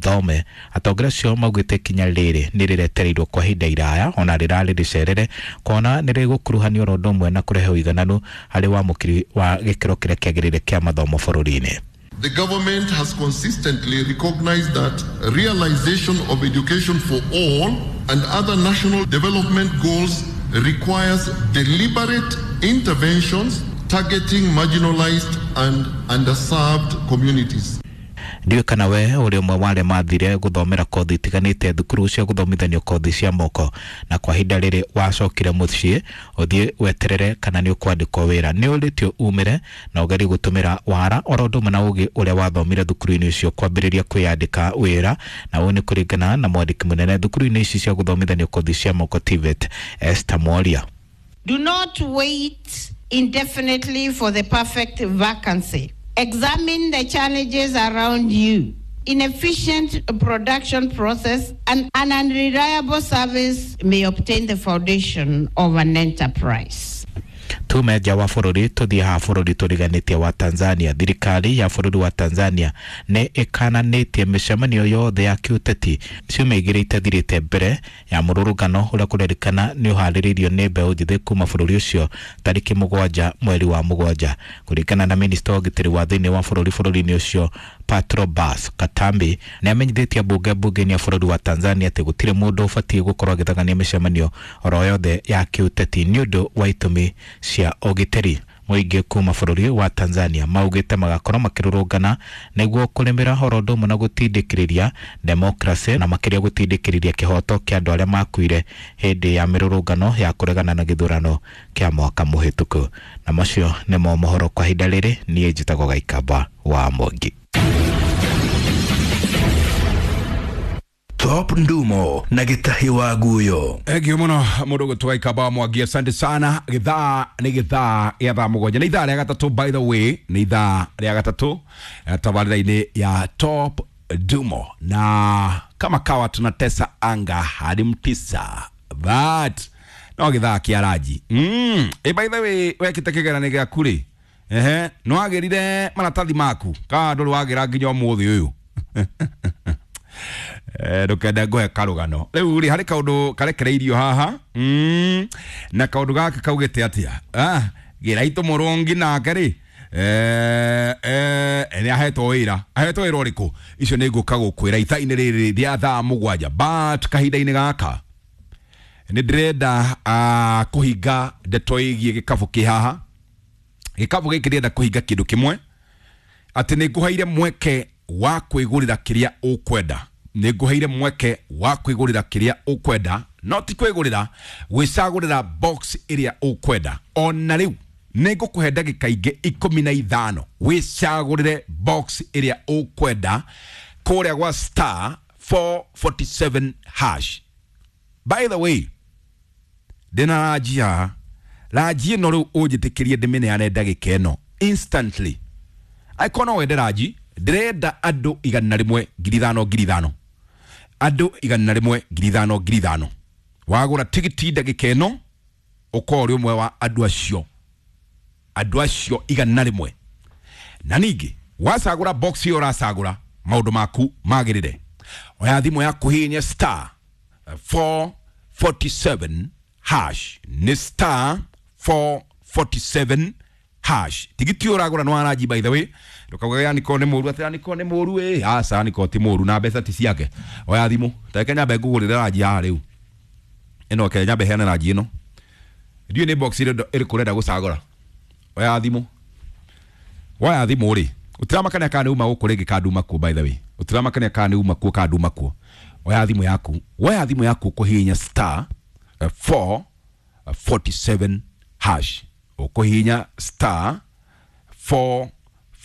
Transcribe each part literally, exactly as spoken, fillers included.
Thome. Atongoria acio maugĩte ikinya rĩrĩ nĩ rĩretereirwo kwa ihinda iraya ona rĩrarĩ rĩcerere kuona nĩ rĩgũkuruhanio oro ũndũ ũmwe na kũrehe ũigananu harĩ wamũkĩri wa gĩkĩro kĩrĩa kĩagĩrĩire kĩa mathomo bũrũri-inĩ. The government has consistently recognized that realization of education for all and other national development goals requires deliberate interventions targeting marginalized and underserved communities. Ndiũĩ kana we ũrĩ ũmwe wa arĩa mathire gũthomera kothi itiganĩte thukuru cia gũthomithanio kothi cia moko, na kwa ihinda rĩrĩ wacokire mũciĩ ũthiĩ weterere kana nĩ ũkwandĩkwo wĩra. Nĩ ũrĩtio umĩre na ũgerie gũtũmĩra wara oro ũndũ ũmwe na ũgĩ ũrĩa wathomire thukuru-inĩ ũcio kwambĩrĩria kwĩyandĩka wĩra, na ũũ nĩ kũringana na mwandĩki mũnene thukuru-inĩ ici cia gũthomithanio kothi cia moko T V E T, Esther Mworia. Do not wait indefinitely for the perfect vacancy. Examine the challenges around you. Inefficient production process and an unreliable service may obtain the foundation of an enterprise. Tume nja wa bũrũri, tũthiĩ haha bũrũri tũriganĩtie wa Tanzania. Thirikari ya bũrũri wa Tanzania nĩ ĩkananĩtie mĩcemanio yothe ya kĩũteti ciumia igĩrĩ itathirĩte mbere ya mũrũrũngano ũrĩa kũrerĩkana nĩ ũharĩrĩirio nĩ mbeũ njĩthĩ kuma bũrũri ũcio tarĩki mũgwanja mweri wa mũgwanja. Kũringana na minista wa ũgitĩri wa thĩinĩ wa bũrũri bũrũri-inĩ ũcio Patrobas Katambi, nĩ amenyithĩtie mbunge mbunge-inĩ ya bũrũri wa Tanzania atĩ gũtirĩ mũndũ ũbatiĩ gũkorwo agĩthagania mĩcemanio oro yothe ya kĩũteti nĩ ũndũ wa itũmi cia ũgitĩri. Mũingĩ kuma bũrũri wa Tanzania maugĩte magakorwo makĩrũrũngana nĩguo kũrĩmĩra oro ũndũ ũmwe na gũtindĩkĩrĩria demokracĩ, na makĩria gũtindĩkĩrĩria kĩhoto kĩa andũ arĩa makuire hĩndĩ ya mĩrũrũngano ya kũregana na gĩthurano kĩa mwaka mũhĩtũku. Na macio nĩmo mohoro kwa ihinda rĩrĩ. Niĩ njĩtagwo Gaikamba wa Mwangi. Top Ndumo na Gĩtahi wa Guyo. Thank you muno mũndũ gũtwa Ikamba Mwangi, asante sana. Gĩthaa nĩ gĩthaa gĩa thaa mũgwanja, nĩ ithaa rĩa gatatũ, by the way, nĩ ithaa rĩa gatatũ tabarĩra-inĩ ya Top Ndumo, na kama kawa tunatesa anga hadi mtisa but no gĩthaa kĩa ranji mm. E, by the way, wekĩte kĩgeranio gĩaku rĩ? Ehe, nĩ wagĩrire maratathi maku kana ndũrĩ wagĩra nginya ũmũthĩ ũyũ? Ndũkende ngũhe karũgano rĩu rĩ, harĩ kaũndũ karekereirio haha mm, na kaũndũ gaka kaugĩte atĩa? Ah, Gĩraitũ Mũrũngi nake rĩ, eh, eh, nĩ ahetwo wĩra. Ahetwo wĩra ũrĩkũ? Icio nĩ ngũka gũkwĩra ithaa-inĩ rĩrĩ rĩa thaa mũgwanja, but kahinda-inĩ gaka nĩ ndĩrenda uh, kũhinga ndeto ĩgiĩ gĩkabũ kĩ haha. Gĩkabũ gĩkĩ ndĩrenda kũhinga kĩndũ kĩmwe, atĩ nĩ ngũheire mweke wa kwĩgũrĩra kĩrĩa ũkwenda. Nĩ ngũheire mweke wa kwĩgũrĩra kĩrĩa ũkwenda, no ti kwĩgũrĩra, gwĩcagũrĩra box ĩrĩa ũkwenda. Ona rĩu nĩ ngũkũhe ndagĩka ingĩ ikũmi na ithano wĩcagũrĩre box ĩrĩa ũkwenda kũrĩa gwa star four forty-seven hash. By the way, ndĩna ranji haha. Ranji ĩno rĩu ũnjĩtĩkĩrie ndĩmĩneane ndagĩka ĩno instantly. Angĩkorwo no wende ranji, ndĩrenda andũ igana rĩmwe, ngiri ithano ngiri ithano, andũ igana rĩmwe, ngiri ithano ngiri ithano. Wagũra tigiti ndagĩka ĩno, ũkorwo ũrĩ ũmwe wa andũ acio andũ acio igana rĩmwe. Na ningĩ wacagũra box ĩyo ũracagũra, maũndũ maku magĩrĩre. Oya thimũ yaku, hihinya star four forty-seven hash, nĩ star four forty-seven hash. Tigiti ũyũ ũragũra nĩ wa ranji, by the way. Ndũkauge Aniko nĩ mũru, atĩ Aniko nĩ mũru. Ĩ aca, Aniko ti mũru na mbeca ti ciake. Oya thimũ, tareke nyambe ngũgũrĩre ranji haha rĩu ĩno. Ke nyambe heane ranji ĩno. Ndiũĩ nĩ box ĩrĩ ĩrĩkũ ũrenda gũcagũra. Oya thimũ. Woya thimũ rĩ, ũtiramakania kana nĩ uma gũkũ rĩngĩ kana nduma kuo. By the way, ũtiramakania kana nĩ uma kuo kana nduma kuo. Oya thimũ yaku. Woya thimũ yaku, ũkũhihinya star four forty-seven hash. Ũkũhihinya star four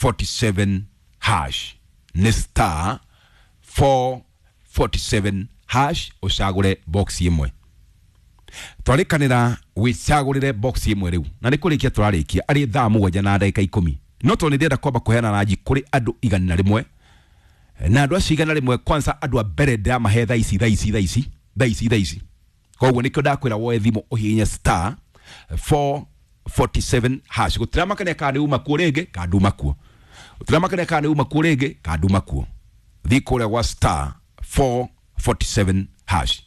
forty-seven hash, nĩ star four forty-seven hash, ũcagũre box ĩmwe. Twarĩkanĩra wĩcagũrĩre box ĩmwe rĩu, na nĩ kũrĩkia tũrarĩkia arĩ thaa mũgwanja na ndagĩka ikũmi, no tondũ nĩ ndĩrenda kwamba kũheana ranji kũrĩ andũ igana rĩmwe, na andũ acio igana rĩmwe, kwanza andũ a mbere ndĩramahe thaa ici, thaa ici, thaa ici, thaa ici, thaa ici. Koguo nĩkĩo ndakwĩra woe thimũ, ũhihinye star four forty-seven hash. Gũtiramakania kana nĩ uma kuo rĩngĩ kana nduma kuo. Gũtiramakania kana nĩ uma kuo rĩngĩ kana nduma kuo. Thiĩ kũrĩa gwa star four forty-seven hash.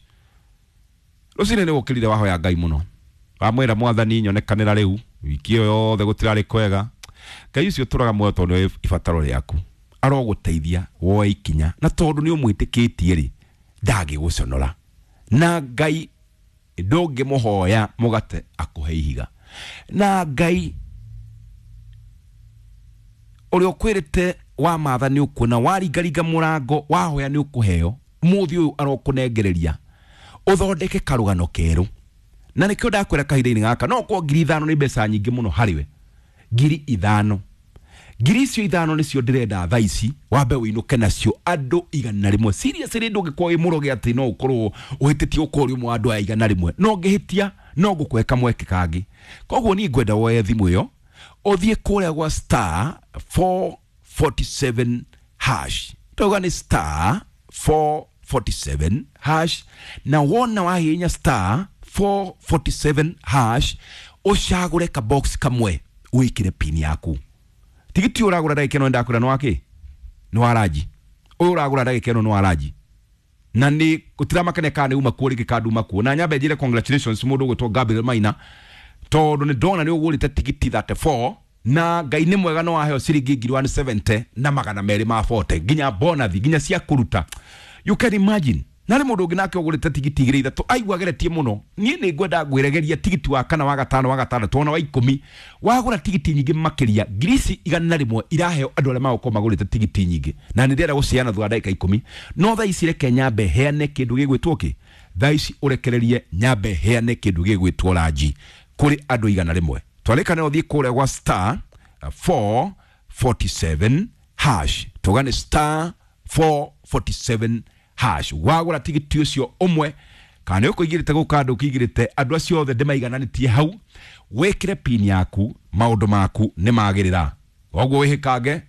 Rũcinĩ nĩ ũkĩrire wahoya Ngai mũno, wamwĩra mwathani nyonekanĩra rĩu wiki ĩyo yothe gũtirarĩ kwega. Ngai ũcio ũtũraga muoyo tondũ nĩoĩ ibataro rĩaku, arogũteithia woe ikinya, na tondũ nĩ ũmwĩtĩkĩtie rĩ, ndangĩgũconora. Na Ngai ndũngĩmũhoya mũgate akũhe ihiga. Na Ngai ũrĩa ũkwĩrĩte wa matha nĩ ũkuona, waringaringa mũrango wahoya nĩ ũkũheo, mũthĩ ũyũ arokũnengereria ũthondeke karũgano kerũ. Na nĩkĩo ndakwĩra kahinda-inĩ gaka, no korwo ngiri ithano nĩ mbeca nyingĩ mũno harĩ we, ngiri ithano, ngiri icio ithano nĩcio ndĩrenda thaa ici wambe ũinũke nacio andũ igana rĩmwe. Seriously, ndũngĩkorwo wĩ mũroge atĩ no ũkorwo ũhĩtĩtie ũkorwo ũrĩ ũmwe wa andũ aya igana rĩmwe, no ngĩhĩtia no ngũkũhe kamweke kangĩ. Koguo niĩ ngwenda woe thimũ ĩyo ũthiĩ kũrĩa gwa star four forty-seven hash. Tauga nĩ star four forty-seven hash, na wona wahihinya star four forty-seven hash ũcagũre ka box kamwe wĩkĩre pin yaku. Tigiti ũragũra ndagĩka ĩno ndakwĩra nĩ wakĩ? Nĩ wa ranji. Ũyũ ũragũra ndagĩka ĩno nĩ wa ranji. Na nĩ gũtiramakania kana nĩ uma kuo rĩngĩ kana nduma kuo. Na nyambe njĩre congratulations mũndũ ũgwĩtwo Gabriel Maina, tondũ nĩ ndona nĩ ũgũrĩte tigiti thirty-four, na Ngai nĩ mwega no waheo ciringi ngiri one seventy na magana merĩ ma forty, nginya bonathi, nginya cia kũruta. You can imagine. Na rĩ mũndũ ũngĩ nake ũgũrĩte tigiti igĩrĩ ithatũ aigua ageretie mũno. Niĩ nĩ ngwenda ngwĩregeria tigiti wa kana wa gatano wa gatandatũ ona wa ikũmi. Wagũra tigiti nyingĩ makĩria ngiri ici igana rĩmwe iraheo andũ arĩa magũkorwo magũrĩte tigiti nyingĩ, na nĩ ndĩrenda gũciana thutha wa ndagĩka ikũmi. No thaa ici reke nyambe heane kĩndũ gĩgwĩtwo kĩ? Thaa ici ũrekererie nyambe heane kĩndũ gĩgwĩtwo ranji kũrĩ andũ igana rĩmwe. Twarĩkana ũthiĩ kũrĩa gwa star four forty-seven hash. Tugane star four forty-seven hash. Wagũra tigiti ũcio ũmwe, kana nĩ ũkũigĩrĩte gũka andũ ũkĩigĩrĩte andũ acio othe ndĩmaigananĩtie hau, wĩkĩre pin yaku, maũndũ maku nĩ magĩrĩra. Koguo wĩhĩkange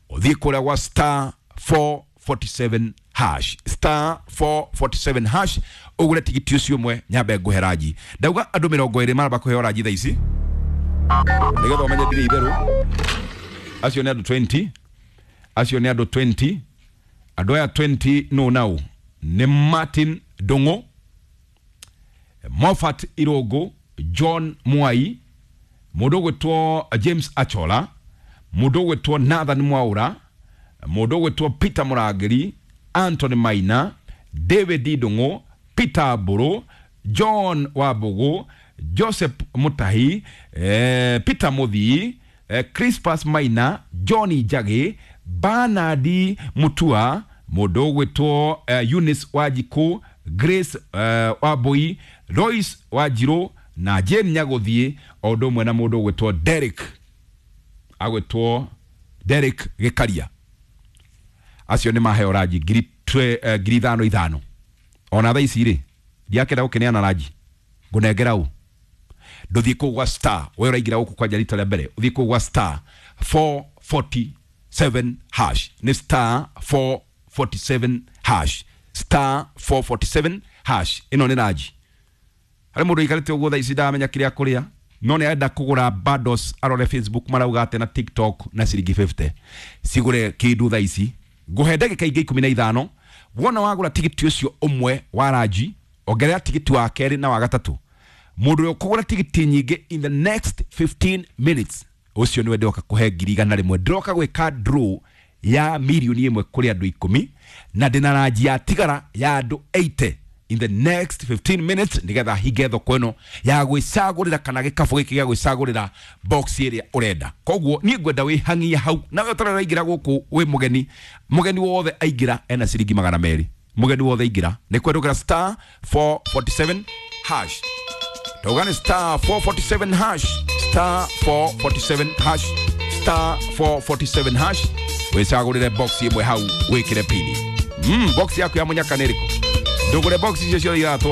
ũthiĩ kũrĩa gwa star four forty-seven hash, star four forty-seven hash, ũgũre tigiti ũcio ũmwe nyambe ngũhe ranji. Ndauga andũ mĩrongo ĩrĩ maramba kũheo ranji thaa ici nĩgetha ũmenye ndirĩ itherũ. Acio nĩ andũ twenty, acio nĩ andũ twenty. Andũ aya twenty no nau nĩ Martin Ndung'u, Moffat Irũngũ, John Mwai, mũndũ ũgwĩtwo James Achola, mũndũ ũgwĩtwo Nathan Mwaura, mũndũ ũgwĩtwo Peter Mũrangĩri, Anthony Maina, David Ndung'u, Peter Mbũrũ, John Wambũgũ, Joseph Mutahi, eh, Peter Mũthii, eh, Crispus Maina, John Njagi, Bernard Mutua, mũndũ ũgwĩtwo eh, Eunice Wanjikũ, Grace eh, Wambui, Lois Wanjirũ na Jane Nyagũthiĩ, o ũndũ ũmwe na mũndũ ũgwĩtwo Derek, agwĩtwo Derek Gĩkaria. Acio nĩ maheo ranji ngiri twe, ngiri ithano ithano. Ona thaa ici rĩ, ndiakenda gũkĩneana ranji, ngũnengera ũ? Ndũthiĩ kũu gwa star, we ũraingĩra gũkũ kwanja rita rĩa mbere, ũthiĩ kũu gwa star four forty-seven hash. Nĩ star four forty-seven hash, star four forty-seven hash. Ĩno nĩ ranji. Harĩ mũndũ ũikarĩte ũguo thaa ici ndaramenya kĩrĩa kũrĩa, no nĩ arenda kũgũra bundles arore Facebook marauga atĩ na TikTok na ciringi fifty. Cigũre kĩndũ thaa ici. Ngũhe ndagĩka ingĩ ikũmi na ithano. Wona wagũra tigiti ũcio ũmwe wa ranji, ongerera tigiti wa kerĩ na wa gatatũ. Mũndũ ũrĩa ũkũgũra tigiti nyingĩ in the next fifteen minutes, ũcio nĩwe ndĩroka kũhe ngiri igana rĩmwe. Ndĩroka gwĩka draw ya mirioni ĩmwe kũrĩ andũ ikũmi, na ndĩna ranji ya tigara ya andũ eighty in the next fifteen minutes, nĩgetha hinge thoko ĩno ya gwĩcagũrĩra kana gĩkabũ gĩkĩ gĩa gwĩcagũrĩra box ĩrĩa ũrenda. Koguo niĩ ngwenda wĩhang'ie hau, nawe ũtarĩ ũraingĩra gũkũ wĩ mũgeni, mũgeni wothe aingĩra ena ciringi magana merĩ. Mũgeni wothe aingĩra nĩ kwendũkĩra star four forty-seven hash. Tauga nĩ star four forty-seven hash, star four forty-seven hash, star four forty-seven hash, wĩcagũrĩre box ĩmwe hau wĩkĩre pini. Mm, box yaku ya mũnyaka nĩ ĩrĩkũ? Ndũgũre box icio ciothe ithatũ.